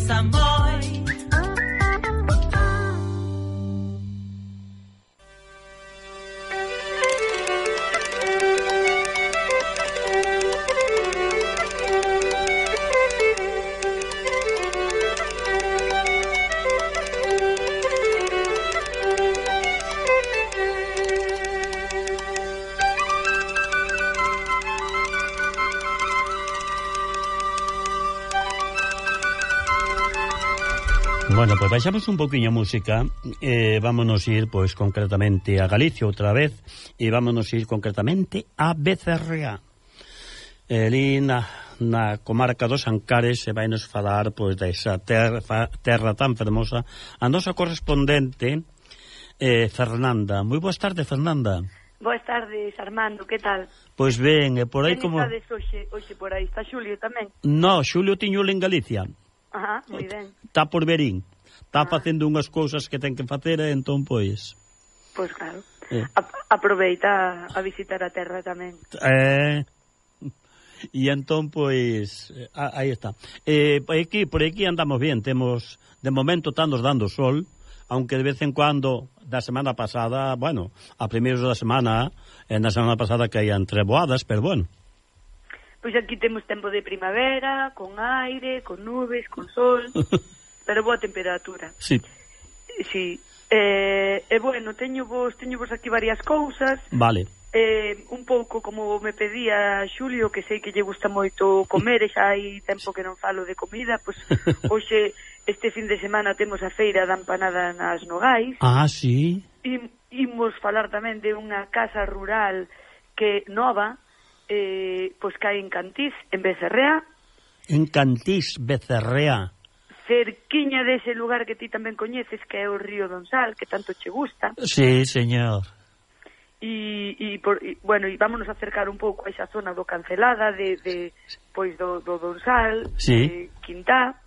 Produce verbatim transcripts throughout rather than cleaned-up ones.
pesa moi. Bueno, pues baixamos un poquinho a música e eh, vámonos ir, pois, concretamente a Galicia outra vez e vámonos ir concretamente a Becerreá. Ali na, na comarca dos Ancares se vai nos falar, pois, desa terra, terra tan fermosa a nosa correspondente eh, Fernanda. Moi boas tardes, Fernanda. Boas tardes, Armando, que tal? Pois ben, e por aí como... Quen estades hoxe, hoxe por aí? Está Xulio tamén? No, Xulio tiñole en Galicia. Ajá, moi ben. Está por Verín. Está ah. facendo unhas cousas que ten que facer e entón, pois... Pois claro. Eh. A aproveita a visitar a terra tamén. Eh... E entón, pois... Ah, aí está. Eh, por, aquí, por aquí andamos bien. Temos... De momento está nos dando sol, aunque de vez en cuando, da semana pasada, bueno, a primeiros da semana, eh, na semana pasada caían treboadas, pero bueno... Pois aquí temos tempo de primavera, con aire, con nubes, con sol, pero boa temperatura. Sí. Sí. Eh, e bueno, teño vos, teño vos aquí varias cousas. Vale. Eh, un pouco como me pedía Xulio, que sei que lle gusta moito comer, e xa hai tempo que non falo de comida, pois hoxe, este fin de semana, temos a feira da empanada nas Nogais. Ah, sí. E imos falar tamén de unha casa rural que nova, Eh, pois cae en Cantís, en Becerreá. En Cantís, Becerreá. Cerquiña dese lugar que ti tamén coñeces, que é o río Donsal, que tanto che gusta. Sí, señor. E, e, por, e bueno, e vámonos a acercar un pouco a esa zona do Cancelada, de, de pois do, do Donsal, sí. de Quintá,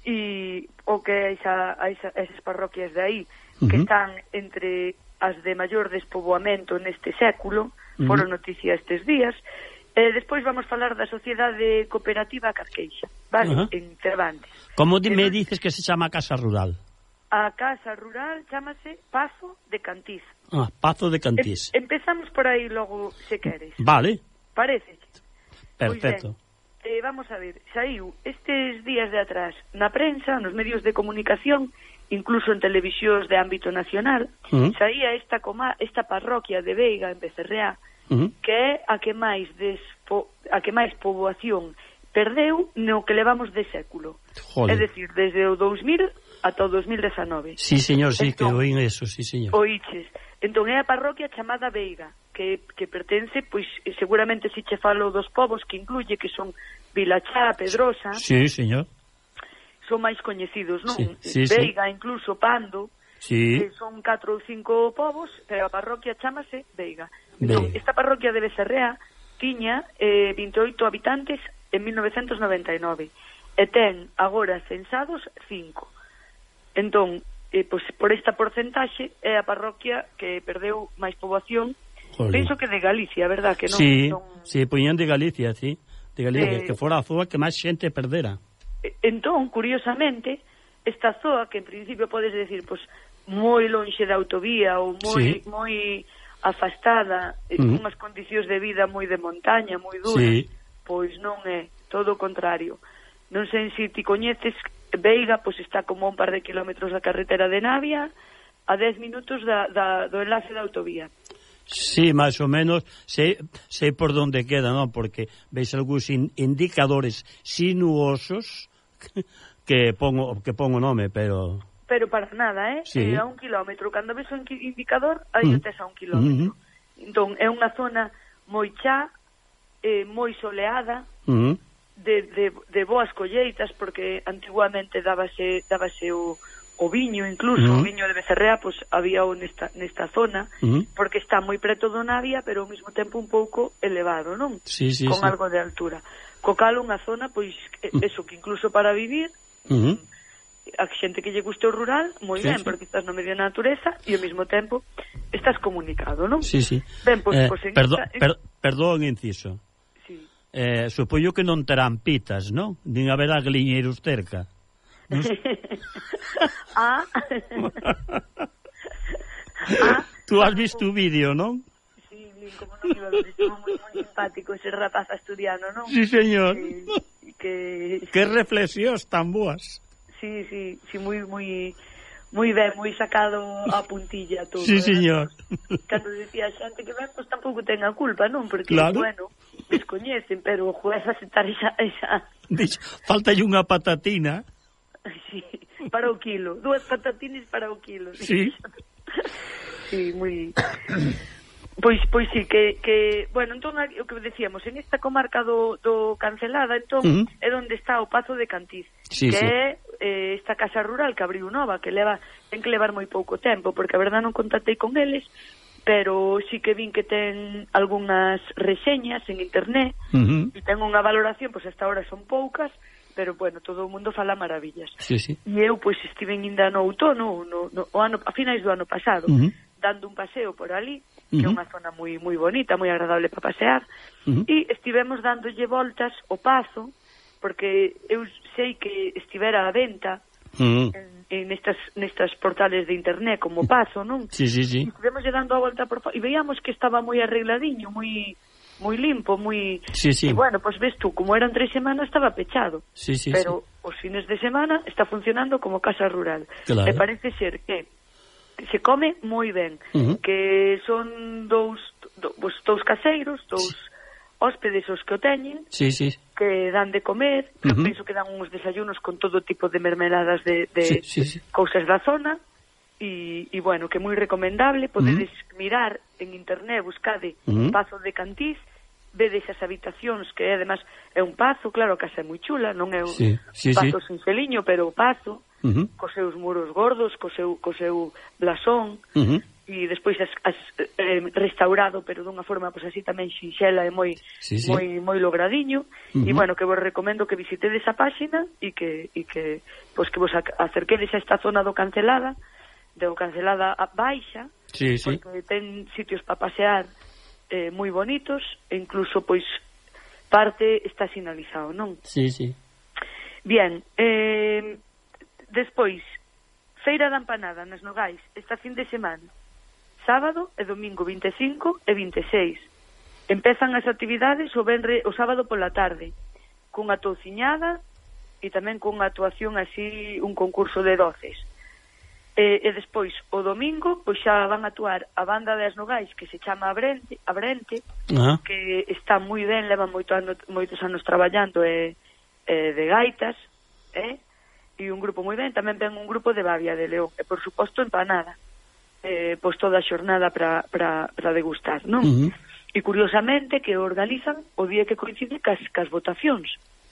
e o que é esa, a esa, esas parroquias de aí, uh -huh. que están entre as de maior despoboamento neste século, foron noticia estes días. Eh, despois vamos falar da Sociedade Cooperativa Carqueixa, vale? Uh -huh. En Cervantes. Como me eh, dices que se chama a Casa Rural? A Casa Rural chámase Pazo de Cantís. Ah, Pazo de Cantís. Em, empezamos por aí logo, se queres. Vale. Parece? Perfecto. Pois ben, eh, vamos a ver, saiu estes días de atrás na prensa, nos medios de comunicación, incluso en televisións de ámbito nacional, uh -huh. saía esta, coma, esta parroquia de Veiga, en Becerreá, uh -huh. que é a que máis despo, a que máis poboación perdeu no que levamos de século. Joder. É dicir, desde o dous mil ata o dous mil dezanove. Sí, señor, sí, entón, que oín eso, sí, señor. Oíches. Entón é a parroquia chamada Veiga, que, que pertence, pois, seguramente si che falo dos povos que incluye, que son Vilachá, Pedrosa... Sí, señor. Son máis coñecidos, non? Sí, sí, Veiga, sí. Incluso Pando, sí. que son catro ou cinco povos, pero a parroquia chamase Veiga. Entón, esta parroquia de Becerreá tiña eh, vinte e oito habitantes en mil novecentos noventa e nove e ten agora censados cinco. Entón, eh, pues, por esta porcentaxe é a parroquia que perdeu máis poboación. Joder. Penso que de Galicia, verdad? Que non, sí, non... sí, poñían de Galicia, sí, de Galicia, eh... que fora a zoa que máis xente perdera. Entón, curiosamente, esta zoa que en principio podes decir, pois, moi lonxe da autovía ou moi sí. moi afastada, uh -huh. unhas condicións de vida moi de montaña, moi duras, sí. pois non é, todo o contrario. Non sei se ti coñeces, Veiga, pois está como un par de kilómetros da carretera de Navia, a dez minutos da, da, do enlace da autovía. Sí, máis ou menos, sei, sei por onde queda, non? Porque veis algúns in, indicadores sinuosos que pongo que pongo nome, pero... Pero para nada, eh? Sí. É a un kilómetro. Cando ves un indicador, aí uh -huh. tes a un kilómetro. Uh -huh. Entón, é unha zona moi chá, eh, moi soleada, uh -huh. de, de, de boas colleitas, porque antiguamente dábase, dábase o, o viño, incluso, uh -huh. o viño de Becerreá, pois había o nesta, nesta zona, uh -huh. porque está moi preto do Navia, pero ao mesmo tempo un pouco elevado, non? Sí, sí, con sí. algo de altura. Co cal unha zona, pois, eso, que incluso para vivir... Uh -huh. a xente que lle guste o rural, moi sí, ben, sí. porque estás no medio da natureza e ao mesmo tempo estás comunicado, non? Sí, sí. Ben, pois, eh, pois en perdón, esta... per, perdón, inciso. Sí. Eh, supoño que non terán pitas, non? Nin haberá gliñeiros cerca. No ah. ah. Tú has visto o vídeo, non? Sí, bien, como non iba a ver, estuvo moi, moi simpático ese rapaz asturiano, non? Sí, señor. Que... que... Que reflexións tan boas. Sí, sí, sí, moi, moi... moi ben, moi sacado a puntilla todo. Sí, señor. Cando decía a xente que ben, pois tampouco ten a culpa, non? Porque, claro. bueno, descoñecen, pero juez aceptar esa... esa... Falta unha patatina. Sí, para o quilo. Dúas patatinas para o quilo. Sí. Sí, moi... Pois, pois sí, que, que bueno, entón, o que decíamos, en esta comarca do, do Cancelada, entón, uh -huh. é onde está o Pazo de Cantiz, sí, que sí. é eh, esta casa rural que abriu nova, que leva, ten que levar moi pouco tempo, porque a verdad non contactei con eles, pero sí que vin que ten algunhas reseñas en internet, uh -huh. e ten unha valoración, pois hasta ahora son poucas, pero bueno, todo o mundo fala maravillas. Sí, sí. E eu, pois, estive ainda no outono, no, no, o ano, a finais do ano pasado, uh -huh. dando un paseo por ali, que é unha zona moi moi bonita, moi agradable para pasear, uh -huh. e estivemos dándolle voltas ao Pazo, porque eu sei que estivera a venta uh -huh. en, en estas, nestas portales de internet como Pazo, non? Sí, sí, sí. E estivemos dando a volta por... e veíamos que estaba moi arregladiño, moi moi limpo, moi... Sí, sí. E bueno, pois pues ves tú, como eran tres semanas estaba pechado, sí, sí, pero sí. os fines de semana está funcionando como casa rural. Claro. E parece ser que se come moi ben, uh -huh. que son dous, do, dous caseiros, dous hóspedes os que o teñen, sí, sí. que dan de comer, uh -huh. penso que dan uns desayunos con todo tipo de mermeladas de, de sí, sí, sí. cousas da zona, e, e bueno, que é moi recomendable, podedes uh -huh. mirar en internet, buscade uh -huh. Pazo de Cantiz, vedes as habitacións, que además é un pazo, claro, a casa é moi chula, non é un sí, sí, pazo sí. sin feliño, pero o pazo, uh -huh. cos seus muros gordos, co seu, co seu blasón, uh -huh. e despois as, as, eh, restaurado, pero dunha forma pois así tamén xinxela e moi sí, sí. moi moi logradiño, uh -huh. e bueno, que vos recomendo que visitedes a páxina e que e que pois que vos acerquedes a esta zona do Cancelada, do Cancelada a Baixa, sí, sí. porque ten sitios para pasear eh, moi bonitos, e incluso pois parte está sinalizado, non? Sí, sí. Bien, eh despois, Feira da Empanada nas Nogais, esta fin de semana, sábado e domingo vinte e cinco e vinte e seis. Empezan as actividades o venre o sábado pola tarde, cunha touciñada e tamén cunha actuación así, un concurso de doces. E, e despois, o domingo, pois xa van a actuar a banda das Nogais, que se chama Abrente, Abrente uh -huh. que está moi ben, leva moito ano, moitos anos traballando e, e de gaitas, eh? E un grupo moi ben, tamén ven un grupo de Babia de León, e por suposto empanada, eh, pois toda a xornada para para para degustar, non? Uh -huh. E curiosamente que organizan o día que coincide cas, cas votacións.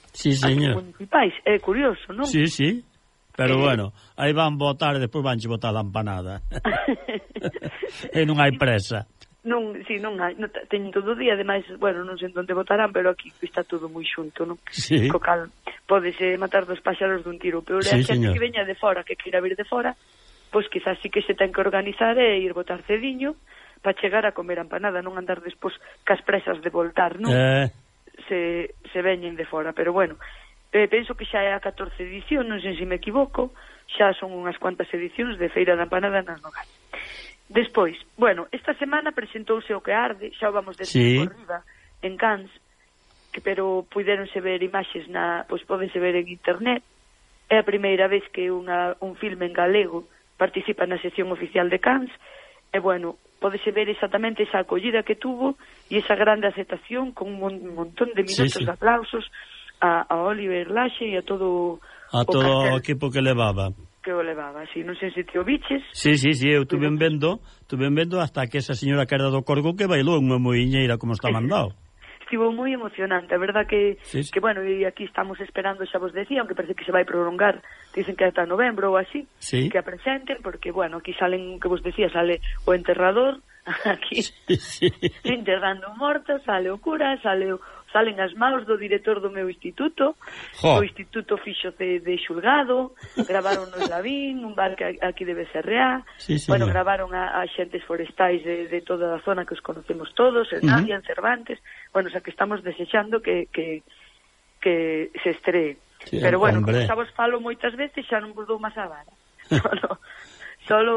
Sí, señor. Municipais, é curioso, non? Sí, sí. Pero eh... bueno, aí van votar e despois vanche votar a empanada. E non hai presa. Non, si, non hai, non, teñen todo o día, ademais, bueno, non sei onde votarán, pero aquí está todo moi xunto, non? Sí. Co cal, podese matar dos páxaros dun tiro, pero sí, a xente que veña de fora, que queira vir de fora, pois quizás sí que se ten que organizar e ir votar cediño para chegar a comer a empanada, non andar despois cas presas de voltar, non? Eh... Se, se veñen de fora, pero bueno, eh, penso que xa é a catorce edición, non sei se me equivoco, xa son unhas cuantas edicións de Feira da Empanada nas Nogais. Despois, bueno, esta semana presentouse o que arde, xa o vamos decir sí. por riba, en Cans, que pero puideronse ver imaxes na, pois podense ver en internet. É a primeira vez que unha, un filme en galego participa na sección oficial de Cans, e bueno, podese ver exactamente esa acollida que tuvo e esa grande aceptación con un montón de minutos sí, sí. de aplausos a, a Oliver Laxe e a todo a o todo o equipo que levaba. que o levaba, así, non sei se te o biches. Sí, sí, sí, eu tuve vendo, tuve vendo hasta que esa señora que era do Corgo que bailou unha moiñeira como está mandado. Estivo moi emocionante, a verdad que, sí, sí. que bueno, e aquí estamos esperando, xa vos decía, aunque parece que se vai prolongar, dicen que ata novembro ou así, sí. que a presenten, porque, bueno, aquí salen, que vos decía, sale o enterrador, aquí, sí, sí. enterrando mortos, sale o cura, sale o, salen as maus do director do meu instituto, jo. O instituto fixo de, de xulgado, gravaron no Lavín, un bar que aquí de B C R A, sí, sí, bueno, no. gravaron a, a xentes forestais de, de toda a zona que os conocemos todos, en Navia, uh -huh. en Cervantes, bueno, o sea que estamos desexando que, que, que se estree. Sí, pero bueno, hombre, como xa vos falo moitas veces, xa non vos dou máis a vara. Solo, solo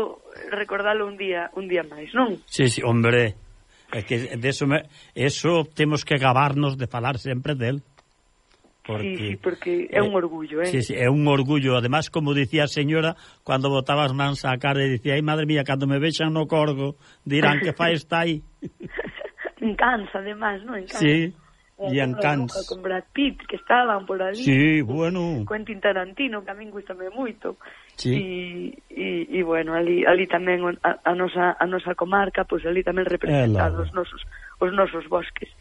recordalo un día un día máis, non? Sí, sí, hombre, é que de eso, me, eso temos que gabarnos de falar sempre del. Porque, sí, sí, porque é un orgullo, eh? Sí, sí, é un orgullo. Además, como dicía a señora, cando botaba as mans á cara e dicía, ai, madre mía, cando me vexan no corgo, dirán que fai está aí. Encansa, además, non? Encansa. Sí. E en Cans con Brad Pitt, que estaban por ali. Sí, bueno. Quentin Tarantino, que a min gustame moito. Sí. E, e, e bueno, ali, ali tamén a, a, nosa, a nosa comarca, pois pues ali tamén representados os nosos, os nosos bosques.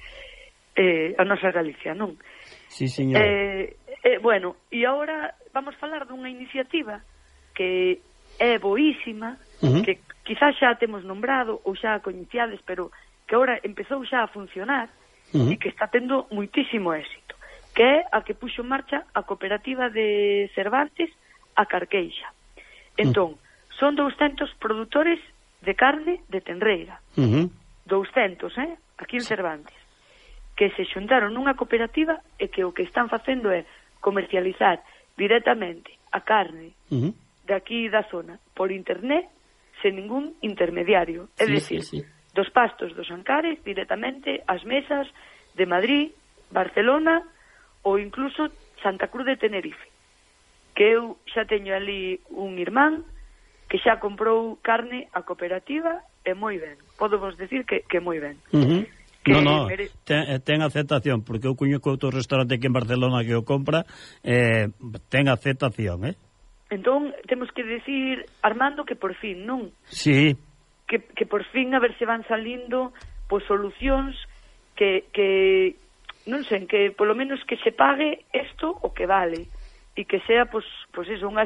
Eh, a nosa Galicia, non? Sí, señor. Eh, eh, bueno, e agora vamos falar dunha iniciativa que é boísima, uh-huh. que quizás xa temos nombrado ou xa coñeciades, pero que agora empezou xa a funcionar, uh-huh. e que está tendo muitísimo éxito, que é a que puxo en marcha a cooperativa de Cervantes, a Carqueixa. Entón, uh-huh. son douscentos produtores de carne de tenreira. Uh-huh. douscentos, eh? Aquí en Cervantes. Que se xuntaron nunha cooperativa e que o que están facendo é comercializar directamente a carne uh-huh. de aquí da zona por internet sen ningún intermediario. É sí, dicir, sí, sí. dos pastos dos Ancares directamente ás mesas de Madrid, Barcelona ou incluso Santa Cruz de Tenerife, que eu xa teño ali un irmán que xa comprou carne a cooperativa e moi ben, podo vos decir que, que moi ben. Uh-huh. que no, no, mere... ten, ten aceptación, porque eu coñeco outro restaurante aquí en Barcelona que o compra, eh, ten aceptación, eh? Entón, temos que decir, Armando, que por fin, non? Sí. Que, que por fin a ver se van salindo pois solucións que, que non sei, que polo menos que se pague isto o que vale e que sea pois, pois eso, unha,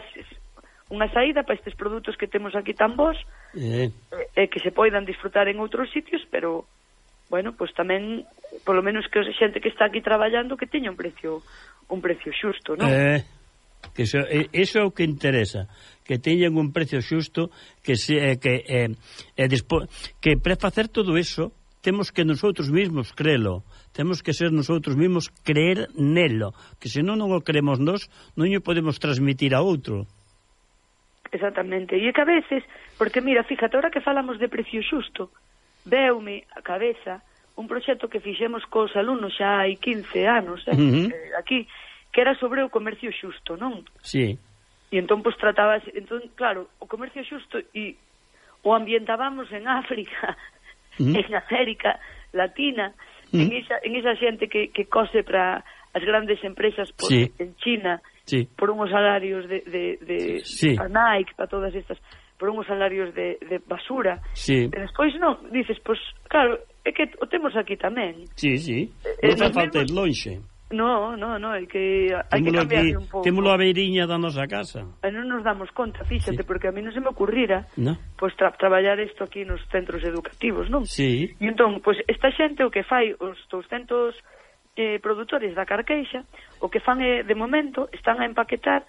unha saída para estes produtos que temos aquí tan bons eh. e que se poidan disfrutar en outros sitios, pero bueno, pois tamén polo menos que a xente que está aquí traballando que teña un precio un precio xusto, non? Eh que eso, eso é o que interesa, que teñan un precio xusto, que se que eh, eh, despo, que para facer todo eso temos que nosotros mismos crelo, temos que ser nosotros mismos creer nelo, que se non non o creemos nós, non o podemos transmitir a outro. Exactamente, e que a veces, porque mira, fíjate, ahora que falamos de precio xusto, veume a cabeza un proxecto que fixemos cos alumnos xa hai quince anos, eh, uh-huh. eh, aquí, que era sobre o comercio xusto, non? Sí. E entón, pois, tratabas... Entón, claro, o comercio xusto e o ambientábamos en África, mm. en América Latina, mm. en, esa, en esa xente que, que cose para as grandes empresas por, sí. en China, sí. por unhos salarios de, de, de sí. para Nike, para todas estas, por unhos salarios de, de basura. Sí. E despois, non, dices, pois, claro, é que o temos aquí tamén. Sí, sí, non fa falta ir lonxe. No, no, no, é que hai que cambiarle un pouco. Témolo a beiriña da nosa casa. E non nos damos conta, fíxate, sí. porque a mí non se me ocurrira no. pois tra traballar isto aquí nos centros educativos, non? Sí. E entón, pois esta xente o que fai os douscentos eh, produtores da Carqueixa, o que fan é, de momento, están a empaquetar,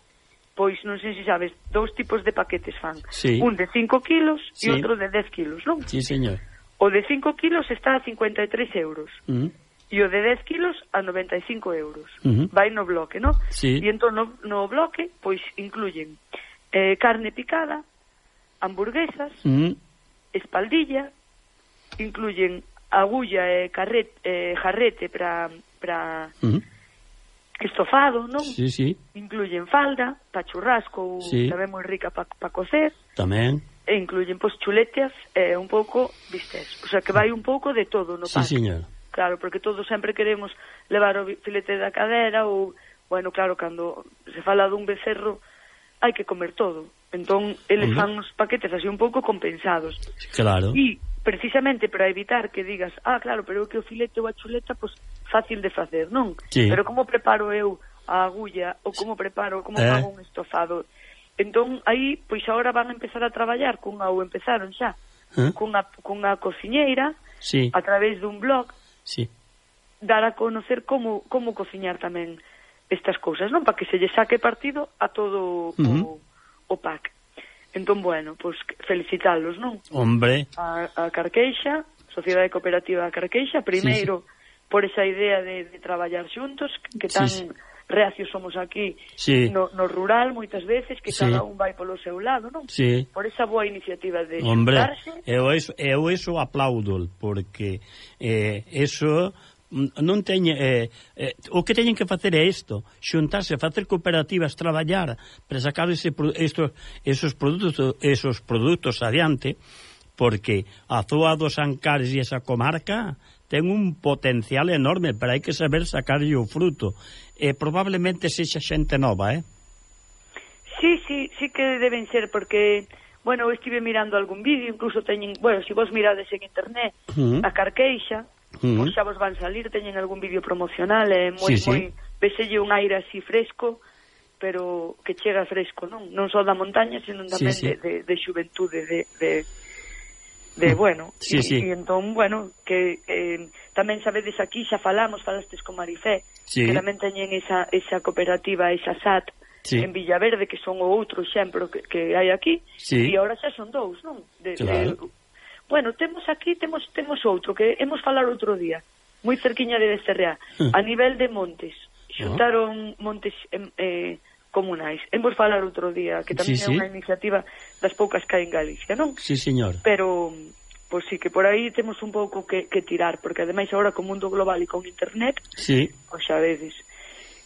pois non sei se sabes, dous tipos de paquetes fan. Sí. Un de cinco kilos e sí. outro de dez kilos, non? Sí, señor. O de cinco kilos está a cincuenta e tres euros. Mm. E o de dez kilos a noventa e cinco euros. Uh-huh. Vai no bloque, non? Sí. E entón no, no bloque, pois, incluyen eh, carne picada, hamburguesas, uh-huh. espaldilla, incluyen agulla e carret, eh, jarrete para para uh-huh. estofado, non? Sí, sí. Incluyen falda, pa churrasco, sí. tamén moi rica pa, pa cocer. Tamén. E incluyen, pois, chuletas e eh, un pouco bistés. O sea, que vai un pouco de todo no sí, pack. señor. Claro, porque todos sempre queremos levar o filete da cadera ou, bueno, claro, cando se fala dun becerro hai que comer todo. Entón, eles fan os paquetes así un pouco compensados. Claro. E, precisamente, para evitar que digas, ah, claro, pero que o filete ou a chuleta, pois, fácil de facer, non? Sí. Pero como preparo eu a agulla ou como preparo, como eh. fago un estofado? Entón, aí, pois, agora van a empezar a traballar cunha, ou empezaron xa, eh. cunha, cunha cociñeira, sí. a través dun blog, sí. dar a conocer como como cociñar tamén estas cousas, non? Para que se lle saque partido a todo uh-huh. o, o pack. Entón, bueno, pois pues, felicitalos, non? Hombre. A, a Carqueixa, Sociedade Cooperativa da Carqueixa, primeiro sí, sí. por esa idea de, de traballar xuntos, que tan, sí, sí. reacios somos aquí sí. no, no rural moitas veces, que sí. cada un vai polo seu lado, non? Sí. Por esa boa iniciativa de Hombre, xuntarse. eu eso, eu eso aplaudo, porque eh, eso non teñe eh, eh, o que teñen que facer é isto, xuntarse, facer cooperativas, traballar para sacar ese, estos, esos produtos esos produtos adiante, porque a zoa dos Ancares e esa comarca ten un potencial enorme, pero hai que saber sacarlle o fruto. E probablemente sexa xente nova, eh? Sí, sí, sí que deben ser, porque, bueno, eu estive mirando algún vídeo, incluso teñen, bueno, se si vos mirades en internet, uh -huh. a Carqueixa, uh -huh. pois xa vos van salir, teñen algún vídeo promocional, é eh, moi, sí, moi, sí. Veselle un aire así fresco, pero que chega fresco, non? Non só da montaña, senón tamén sí, sí. De, de, de xuventude, de... de de, bueno, sí, e, sí. e entón, bueno, que eh, tamén sabedes aquí, xa falamos, falastes con Marifé, sí. que tamén teñen esa, esa cooperativa, esa S A T, sí. en Villaverde, que son o outro exemplo que, que hai aquí, sí. e agora xa son dous, non? De, claro. de, bueno, temos aquí, temos temos outro, que hemos falar outro día, moi cerquiña de Becerreá, uh. a nivel de montes, xuntaron uh. montes... Eh, comunais. Hemos falar outro día, que tamén sí, é unha sí. iniciativa das poucas que hai en Galicia, non? Sí, señor. Pero, pois sí, que por aí temos un pouco que, que tirar, porque ademais agora co mundo global e con internet, sí. pois xa vedes.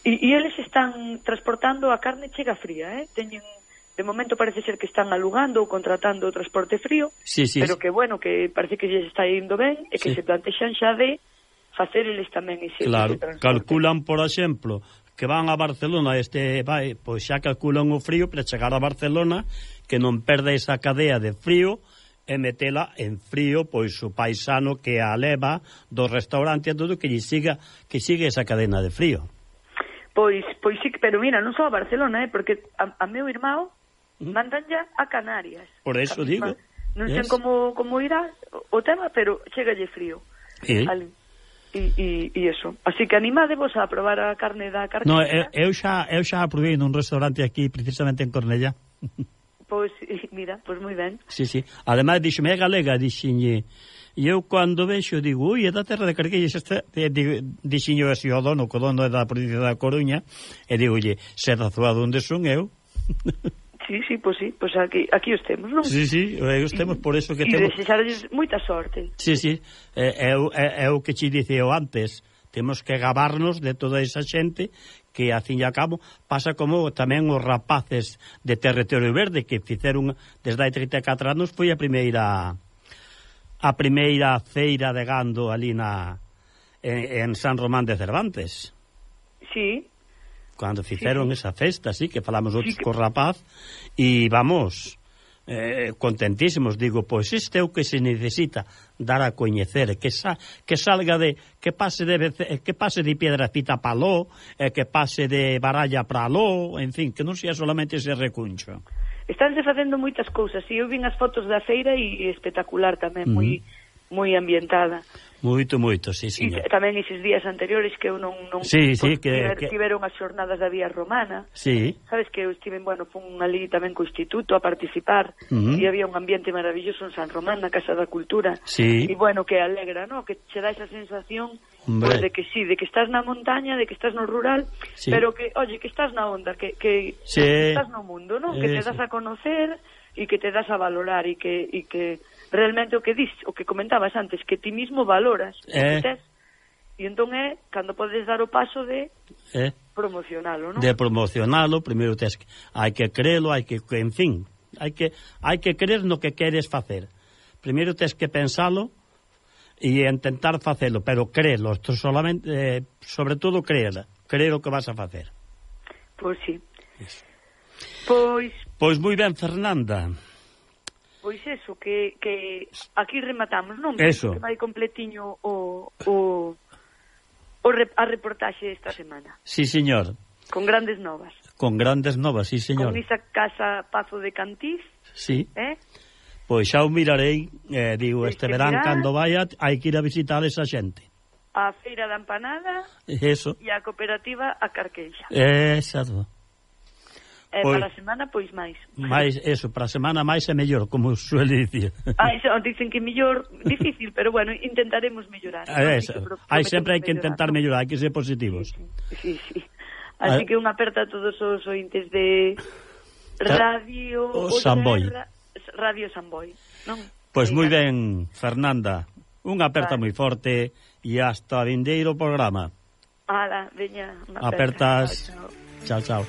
E, e eles están transportando a carne chega fría, eh? Teñen, de momento parece ser que están alugando ou contratando o transporte frío, sí, sí, pero que bueno, que parece que lles está indo ben e que sí. se plantexan xa de facer eles tamén ese, claro, ese transporte. Calculan, por exemplo, que van a Barcelona, este vai, pois xa calculan o frío para chegar a Barcelona, que non perde esa cadea de frío e metela en frío, pois o paisano que a leva do restaurante e todo, que lle siga, que siga esa cadena de frío. Pois, pois sí, pero mira, non só a Barcelona, eh, porque a, a meu irmão mandan ya a Canarias. Por eso digo. Non sei yes. como, como irá o tema, pero chegalle frío. Sí. Ali. E, e, e eso. Así que animadevos a probar a carne da Carqueixa. No, eu, eu xa eu xa a probei nun restaurante aquí, precisamente en Cornellá. Pois, mira, pois moi ben. Sí, sí. Ademais, dixeme, é galega, dixenlle, e eu cando vexo, digo, ui, é da terra de Carqueixa, dixenlle así o dono, que o dono é da provincia da Coruña, e digo, lle, se da zoa onde son eu. Sí, sí, pois sí, pois aquí, aquí os temos, non? Sí, sí, os temos, por eso que e temos... E desexarles moita sorte. Sí, sí, é, é, é, é o que te diceo antes, temos que gabarnos de toda esa xente que, a fin e a cabo, pasa como tamén os rapaces de Territorio Verde, que fizeron, desde hai trinta e catro anos, foi a primeira a primeira feira de gando ali na en, en San Román de Cervantes. Sí, cando fixeron sí, esa festa, sí, que falamos outros sí, co rapaz, e vamos, eh, contentísimos, digo, pois este é o que se necesita, dar a coñecer, que sa, que salga de, que pase de que pase de Piedrafita para Ló, eh, que pase de Baralla para Ló, en fin, que non sea solamente ese recuncho. Estánse facendo moitas cousas, e eu vin as fotos da feira e espectacular tamén, mm. moi moi ambientada. Moito, moito, sí, señor. E tamén eses días anteriores que eu non... non sí, sí, que, tiver, que... tiveron as xornadas da Vía Romana. Sí. Sabes que eu estive, bueno, fun ali tamén co Instituto a participar, uh -huh. e había un ambiente maravilloso en San Román, na Casa da Cultura. Sí. E, bueno, que alegra, ¿no? Que che dá esa sensación, pues, de que sí, de que estás na montaña, de que estás no rural, sí, pero que, oye, que estás na onda, que, que, sí, que estás no mundo, ¿no? Eh, que te das sí. a conocer e que te das a valorar e que... E que realmente o que dis, o que comentabas antes, que ti mismo valoras eh. o que tes, e entón é cando podes dar o paso de eh. promocionalo, non? De promocionalo, primeiro tes que, hai que creelo, hai que, en fin, hai que hai que creer no que queres facer. Primeiro tes que pensalo e intentar facelo, pero creelo, solamente, eh, sobre todo creer, creer o que vas a facer. Pois sí. Eso. Pois Pois moi ben, Fernanda. Pois eso, que, que aquí rematamos, non? Eso. Que vai completiño o, o, o rep, a reportaxe esta semana. Sí, señor. Con grandes novas. Con grandes novas, sí, señor. Con esa casa Pazo de Cantís. Sí. Eh? Pois xa o mirarei, eh, digo, este verán, mirar, cando vaya, hai que ir a visitar esa xente. A Feira da Empanada. Eso. E a cooperativa a Carqueixa. Exacto. Eh, pois, para a semana, pois máis. Mais, eso, para a semana máis é mellor, como suele dicir. Ah, eso, dicen que mellor, difícil, pero bueno, intentaremos mellorar. ¿No? Eso. Hai sempre hai que intentar mellorar, hai que ser positivos. Sí, sí, sí. Así que unha aperta a todos os ointes de Radio o Samboy. Radio Samboy, non? Pois moi ben, Fernanda. Unha aperta vale. moi forte e hasta vindeiro programa. Ala, veña, unha apertas. Chao, chao.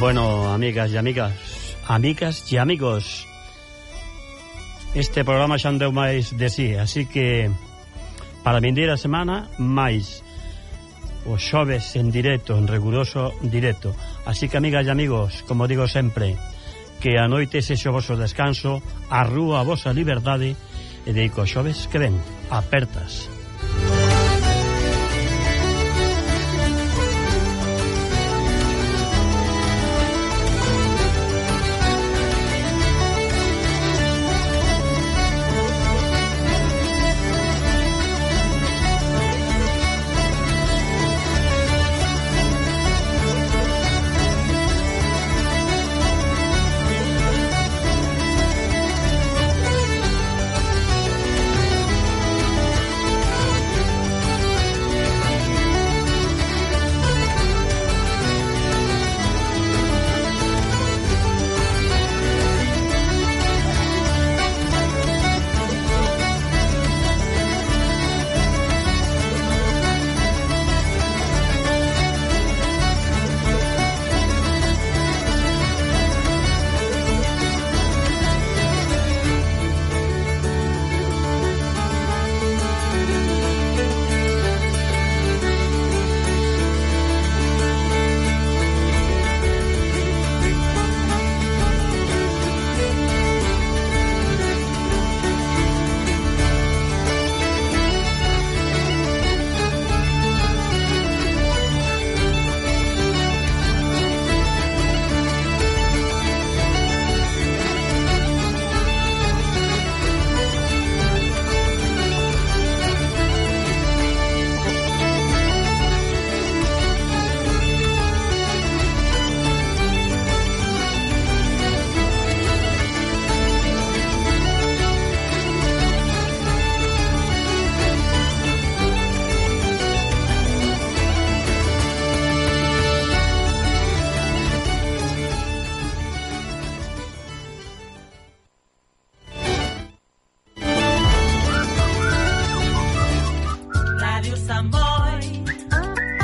Bueno, amigas e amigas, amigas e amigos, este programa xa andeu máis de sí, así que para vindeira semana máis os xoves en directo, en riguroso directo. Así que, amigas e amigos, como digo sempre, que a noite sexe o vosso descanso, a rúa a vosa liberdade, e deico xoves que ven, apertas.